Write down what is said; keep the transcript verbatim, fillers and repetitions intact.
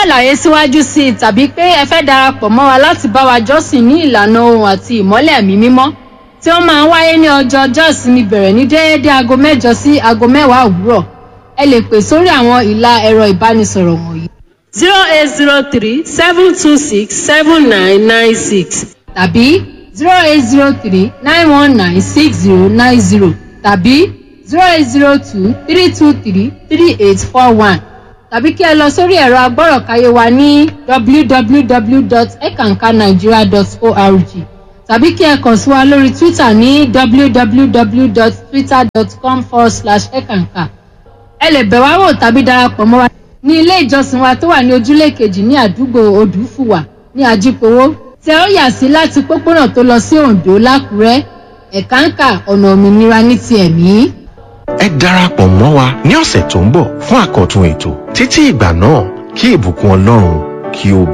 Àlàyé síwájú sí i tàbí pé ẹ fẹ́ darapọ̀ mọ́ wa láti bá wa jọ́sìn ní ìlànà ohun àti ìmọ́lẹ̀ ẹ̀mí mímọ́ tí ó máa ń wáyé ní ọjọ́ ọjọ́ ìsinmi bẹ̀rẹ̀ ní déédéé aago mẹ́jọ sí aago mẹ́wàá òwúrọ̀, ẹ lè pè sórí àwọn ìlà ẹ̀rọ ìbánisọ̀rọ̀ wọ̀nyí: zero eight zero three seven two six seven nine nine six tàbí zero eight zero three nine one nine six zero nine zero tàbí zero eight zero two three two three three eight four one tàbí kí ẹ lọ sórí ẹ̀rọ agbọ́rọ̀káyé wa ní w w w dot ekankanigeria dot org tàbí kí ẹ kàn sí wa lórí Twitter ní w w w dot twitter dot com forward slash ekanka. Ẹ lè bẹ̀ wá wò tàbí darapọ̀ mọ́ wa ní ilé ìjọsìn wa tó wà ní ojúlé kejì ní àdúgbò Odùfùwà ní Ajípowó tí ẹ ó yà sí láti pópónà tó lọ sí Oǹdó lákùrẹ́. Ẹ̀káǹkà, ọ̀nà òmìnira ní ti ẹ̀mí. Ẹ darapọ̀ mọ́ wa ní ọ̀sẹ̀ tó ń bọ̀ fún àkọ́tun ètò. Títí ìgbà náà, kí ìbùkún Ọlọ́run kí ó